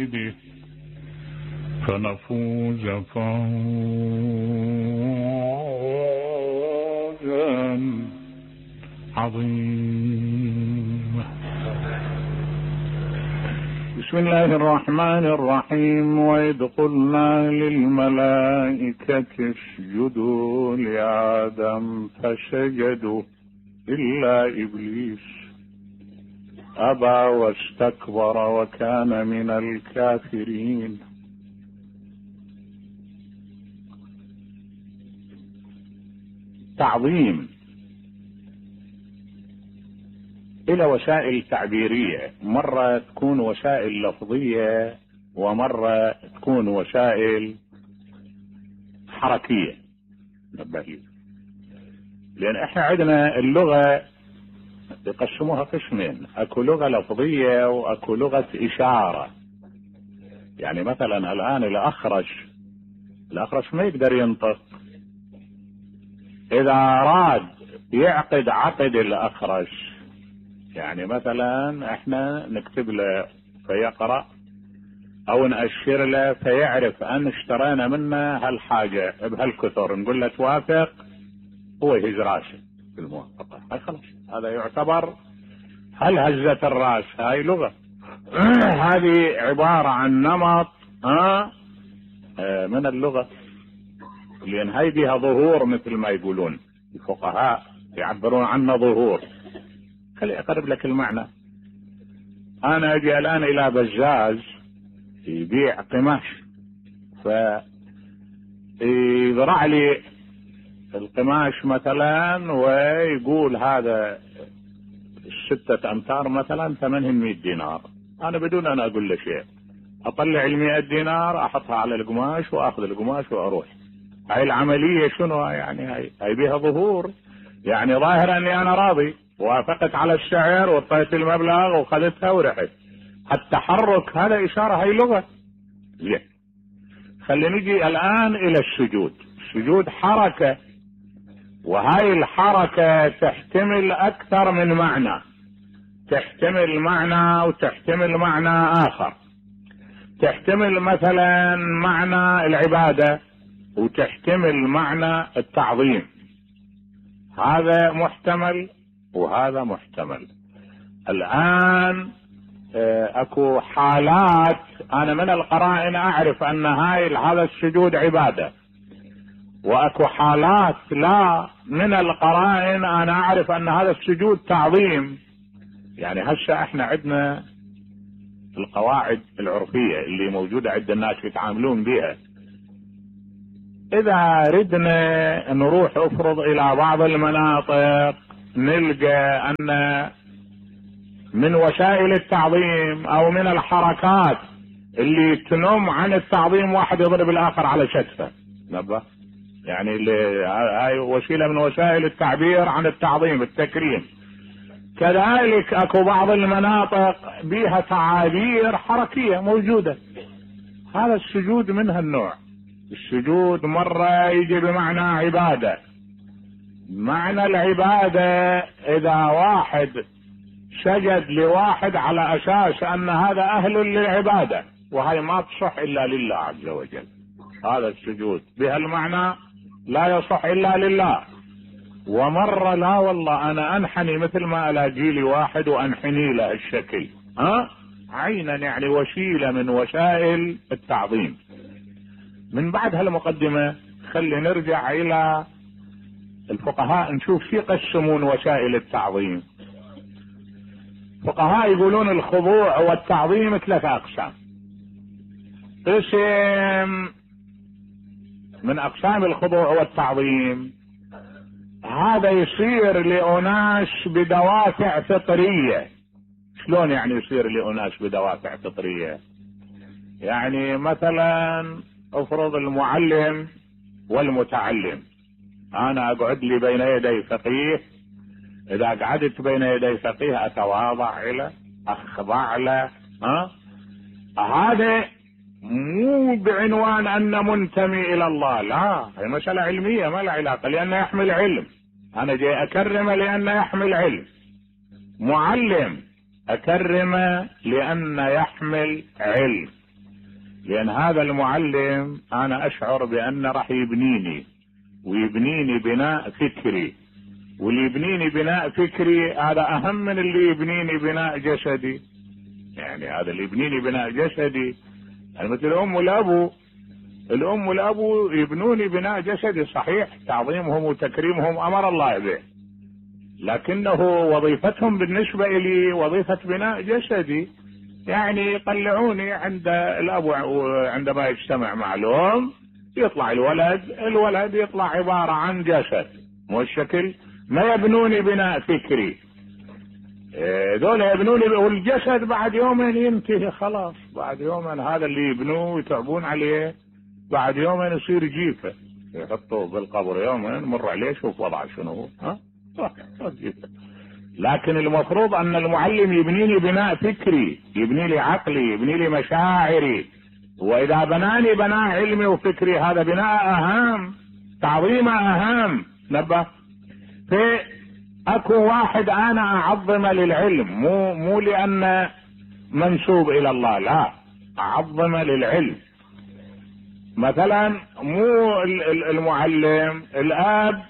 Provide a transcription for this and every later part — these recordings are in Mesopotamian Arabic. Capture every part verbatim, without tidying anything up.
به فنفوز فوزا عظيما. بسم الله الرحمن الرحيم. وإذ قلنا للملائكة اسجدوا لآدم فسجدوا إلا إبليس أبى واستكبر وكان من الكافرين. تعظيم إلى وسائل تعبيرية، مرة تكون وسائل لفظية ومرة تكون وسائل حركية. لأن احنا عندنا اللغة يقسموها قسمين، اكو لغة لفظية واكو لغة إشارة. يعني مثلا الآن الأخرش الأخرش ما يقدر ينطق، إذا أراد يعقد عقد الأخرش، يعني مثلا احنا نكتب له فيقرأ او نأشر له فيعرف ان اشترينا منه هالحاجة بهالكثر، نقول له توافق، هو يهز راسه في الموافقة، هاي خلاص هذا يعتبر هل هزة الراس، هاي لغة. هذه عبارة عن نمط ها من اللغة، لان هاي بها ظهور مثل ما يقولون الفقهاء، يعبرون عنه ظهور. خلي اقرب لك المعنى. انا اجي الان الى بزاز يبيع قماش، فيزرع لي القماش مثلا ويقول هذا ستة امتار مثلا ثمنهم مئة دينار، انا بدون ان اقول له شيء اطلع المئة دينار احطها على القماش واخذ القماش واروح. هاي العملية شنو يعني؟ هاي هاي بها ظهور، يعني ظاهرا اني انا راضي، وافقت على السعر واعطيت المبلغ وخذتها ورحت. التحرك هذا اشارة، هاي لغة. زين، خلينا نجي الان الى السجود. السجود حركة، وهاي الحركة تحتمل اكثر من معنى، تحتمل معنى وتحتمل معنى اخر. تحتمل مثلا معنى العبادة وتحتمل معنى التعظيم، هذا محتمل وهذا محتمل. الآن اكو حالات انا من القرائن اعرف ان هاي هذا السجود عبادة، واكو حالات لا، من القرائن انا اعرف ان هذا السجود تعظيم. يعني هسه احنا عندنا القواعد العرفية اللي موجودة عند الناس يتعاملون بها. اذا ردنا نروح افرض الى بعض المناطق نلقى ان من وسائل التعظيم او من الحركات اللي تنم عن التعظيم واحد يضرب الاخر على شتفه، نبه يعني هاي وسيلة من وسائل التعبير عن التعظيم التكريم. كذلك اكو بعض المناطق بها تعابير حركية موجودة، هذا السجود من هالنوع. السجود مرة يجي بمعنى عبادة. معنى العبادة اذا واحد سجد لواحد على اساس ان هذا اهل للعبادة، وهي ما تصح الا لله عز وجل، هذا السجود بهالمعنى لا يصح الا لله. ومرة لا والله انا انحني مثل ما الاقي لي واحد وانحني له الشكل، ها عينا يعني وسيلة من وسائل التعظيم. من بعد هالمقدمة خلي نرجع الى الفقهاء نشوف شو يقسمون وسائل التعظيم. فقهاء يقولون الخضوع والتعظيم ثلاثة اقسام. قسم من اقسام الخضوع والتعظيم هذا يصير لأناس بدوافع فطرية. شلون يعني يصير لأناس بدوافع فطرية؟ يعني مثلا افرض المعلم والمتعلم، انا اقعد لي بين يدي فقيه، اذا قعدت بين يدي فقيه اتواضع له، اخضع له، ها هذا مو بعنوان ان منتمي الى الله، لا، هي مسألة علمية ما لها علاقة، لانه يحمل علم. انا جاي اكرمه لانه يحمل علم. معلم اكرمه لانه يحمل علم. لان هذا المعلم انا اشعر بانه راح يبنيني ويبنيني بناء فكري، واللي يبنيني بناء فكري هذا اهم من اللي يبنيني بناء جسدي. يعني هذا اللي يبنيني بناء جسدي يعني مثل الام والابو، الام والابو يبنوني بناء جسدي صحيح، تعظيمهم وتكريمهم امر الله به، لكنه وظيفتهم بالنسبة لي وظيفة بناء جسدي. يعني يقلعوني عند الاب عندما يجتمع مع الام، يطلع الولد الولد يطلع عبارة عن جسد مو الشكل، ما يبنوني بناء فكري. دول يبنوني، والجسد بعد يومين ينتهي خلاص، بعد يومين هذا اللي يبنوه ويتعبون عليه بعد يومين يصير جيفة، يحطوه بالقبر يومين مر عليه شوف وضعه شنو. ها لكن المفروض ان المعلم يبنيني بناء فكري، يبني لي عقلي، يبني لي مشاعري، واذا بناني بناء علمي وفكري هذا بناء اهم، تعظيم اهم. نبه في اكو واحد انا اعظم للعلم، مو مو لان منسوب الى الله، لا اعظم للعلم. مثلا مو المعلم، الاب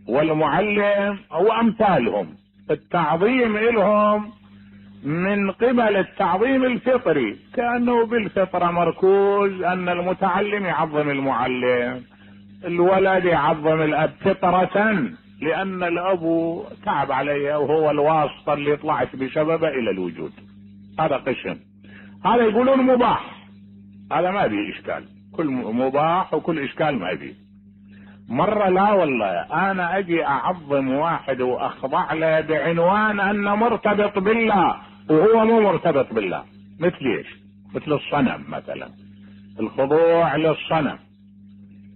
والمعلم وامثالهم، التعظيم لهم من قبل التعظيم الفطري، كأنه بالفطرة مركوز ان المتعلم يعظم المعلم، الولد يعظم الاب فطرة، لان الاب تعب علي وهو الواسطة اللي طلعت بسببه الى الوجود. هذا قسم، هذا يقولون مباح، هذا ما بيه اشكال، كل مباح وكل اشكال ما بيه. مرة لا والله انا اجي اعظم واحد واخضع له بعنوان انه مرتبط بالله وهو مو مرتبط بالله. مثل ايش؟ مثل الصنم مثلا، الخضوع للصنم،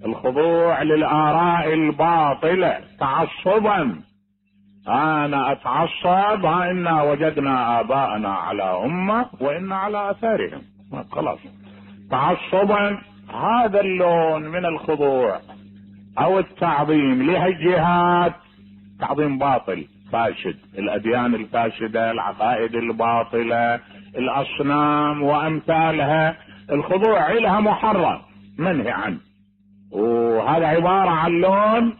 الخضوع للآراء الباطلة تعصبا. انا اتعصب ها انا وجدنا اباءنا على امة وانا على اثارهم، خلاص تعصبا. هذا اللون من الخضوع او التعظيم لهالجهات تعظيم باطل فاسد، الاديان الفاسدة، العقائد الباطلة، الاصنام وامثالها، الخضوع لها محرم منهي عنه، وهذا عبارة عن لون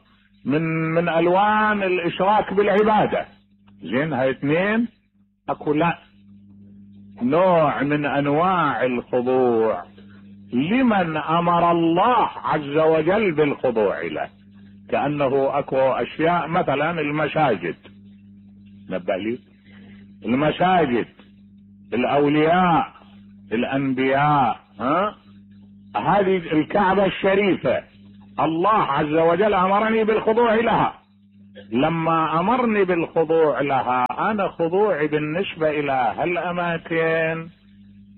من من الوان الاشراك بالعبادة. زين هاي اثنين. اكو لا نوع من انواع الخضوع لمن امر الله عز وجل بالخضوع له، كأنه اكو اشياء مثلا المساجد، نبه لي المساجد، الاولياء، الانبياء، ها هذه الكعبة الشريفة الله عز وجل امرني بالخضوع لها. لما امرني بالخضوع لها انا خضوعي بالنسبة الى هالاماكن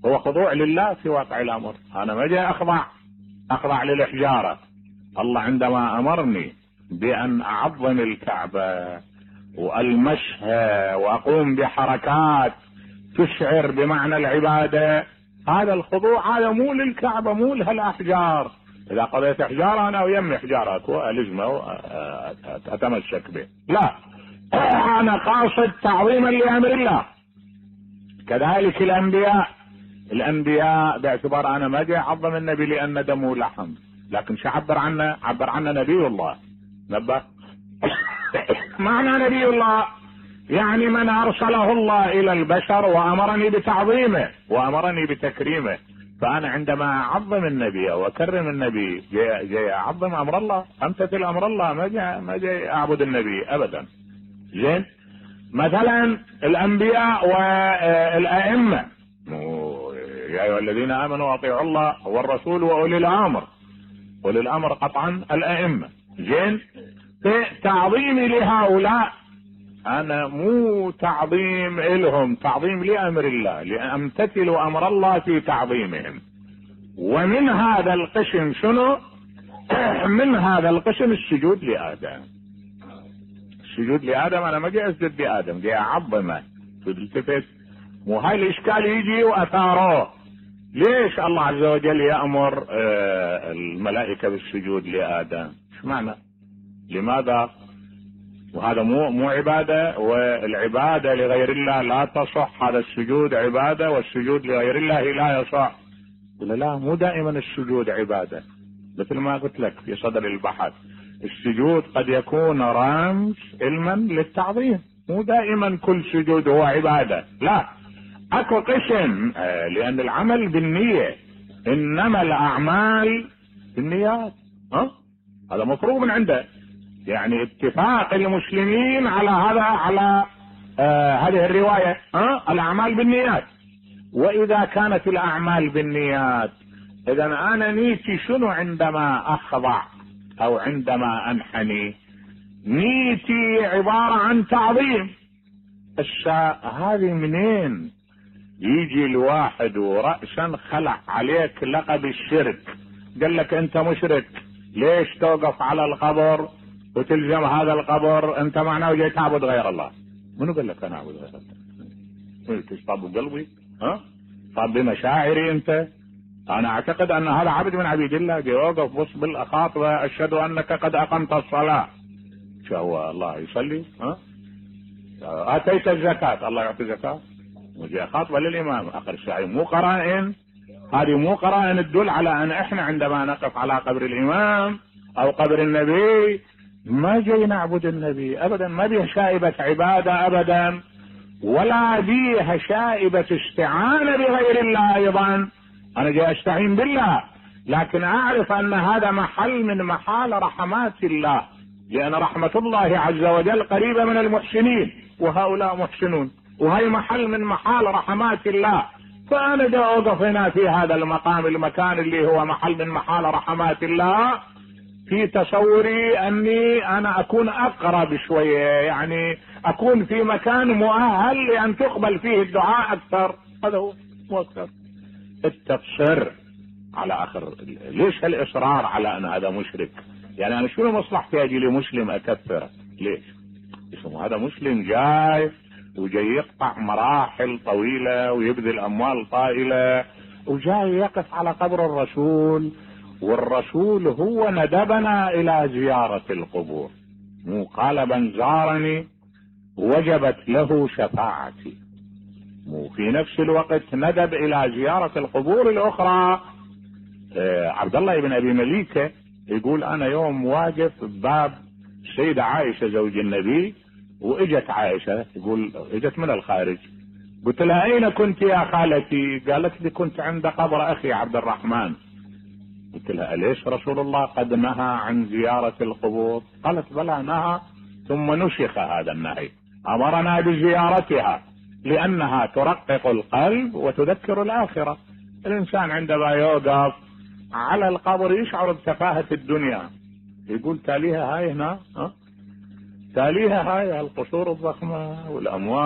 هو خضوع لله في واقع الامر، انا ما جاي اخضع اخضع للحجارة. الله عندما امرني بان اعظم الكعبة والمسها واقوم بحركات تشعر بمعنى العبادة، هذا الخضوع هذا مو للكعبة، مو لهالاحجار. اذا قضيت حجارة انا ويمي حجارة اكو الزمه اتمسك به، لا انا قاصد تعظيما لامر الله. كذلك الانبياء، الانبياء باعتبار انا ما جاي اعظم النبي لان دمه لحم، لكن شو عبر عنه؟ عبر عنه نبي الله. نبه معنى نبي الله يعني من ارسله الله الى البشر وامرني بتعظيمه وامرني بتكريمه. فانا عندما اعظم النبي واكرم النبي جاي, جاي اعظم امر الله، امتثل امر الله، ما جاي ما جاي اعبد النبي ابدا. زين مثلا الانبياء والائمه، يا ايها الذين امنوا اطيعوا الله والرسول واولي الامر، اولي الامر قطعا الائمه. زين في تعظيمي لهؤلاء انا مو تعظيم لهم، تعظيم لامر الله، لامتثل امر الله في تعظيمهم. ومن هذا القسم شنو؟ من هذا القسم السجود لادم. السجود لادم انا ما جاي اسجد لادم، جاي اعظمه. تلتفت مو هاي الاشكال يجي واثاره. ليش الله عز وجل يأمر الملائكة بالسجود لآدم؟ ايش معنى؟ لماذا؟ وهذا مو مو عبادة، والعبادة لغير الله لا تصح، هذا السجود عبادة والسجود لغير الله لا يصح. ولا لا؟ مو دائما السجود عبادة، مثل ما قلت لك في صدر البحث، السجود قد يكون رمز علما للتعظيم، مو دائما كل سجود هو عبادة، لا، اكو قسم، آه لان العمل بالنية، انما الاعمال بالنيات. ها هذا مفروغ من عنده، يعني اتفاق المسلمين على هذا، على آه هذه الرواية، ها الاعمال بالنيات. واذا كانت الاعمال بالنيات، اذا انا نيتي شنو عندما اخضع او عندما انحني؟ نيتي عبارة عن تعظيم. الشاء هذه منين يجي الواحد ورأسا خلع عليك لقب الشرك، قال لك انت مشرك، ليش توقف على القبر وتلزم هذا القبر؟ انت معناه جاي تعبد غير الله. منو قال لك انا اعبد غير الله؟ تصطاب قلبي؟ ها صاب بمشاعري انت؟ انا اعتقد ان هذا عبد من عبيد الله، جاي يوقف بص بالاخاطبه، اشهد انك قد اقمت الصلاه. شو هو الله يصلي؟ ها اتيت الزكاه، الله يعطي زكاه، وجاء خاطبه للامام. اخر الشيء مو قرائن، هذه مو قرائن تدل على ان احنا عندما نقف على قبر الامام او قبر النبي ما جاي نعبد النبي ابدا، ما بيها شائبة عبادة ابدا، ولا بيها شائبة استعانة بغير الله ايضا. انا جاي استعين بالله، لكن اعرف ان هذا محل من محال رحمات الله، لان رحمة الله عز وجل قريبة من المحسنين، وهؤلاء محسنون، وهي محل من محال رحمات الله. فانا جاي اوقف هنا في هذا المقام، المكان اللي هو محل من محال رحمات الله، في تصوري اني انا اكون اقرب شوية، يعني اكون في مكان مؤهل لان تقبل فيه الدعاء اكثر. هذا هو مو اكثر. التقصير على اخر، ليش هالاصرار على ان هذا مشرك؟ يعني انا شنو مصلحتي اجي لي مسلم اكثره؟ ليش؟ اسمه هذا مسلم جاي وجاي يقطع مراحل طويلة ويبذل اموال طائلة، وجاي يقف على قبر الرسول، والرسول هو ندبنا الى زيارة القبور، مو قال من زارني وجبت له شفاعتي، مو في نفس الوقت ندب الى زيارة القبور الاخرى. آه عبد الله بن ابي مليكة يقول انا يوم واقف بباب السيدة عائشة زوج النبي، واجت عائشة، يقول اجت من الخارج، قلت لها اين كنت يا خالتي؟ قالت لي كنت عند قبر اخي عبد الرحمن. قلت لها اليش رسول الله قد نهى عن زيارة القبور؟ قالت بلى نهى، ثم نسخ هذا النهي، امرنا بزيارتها لانها ترقق القلب وتذكر الاخرة. الانسان عندما يوقف على القبر يشعر بتفاهة الدنيا، يقول تاليها هاي هنا، ها تاليها هاي القصور الضخمة والاموال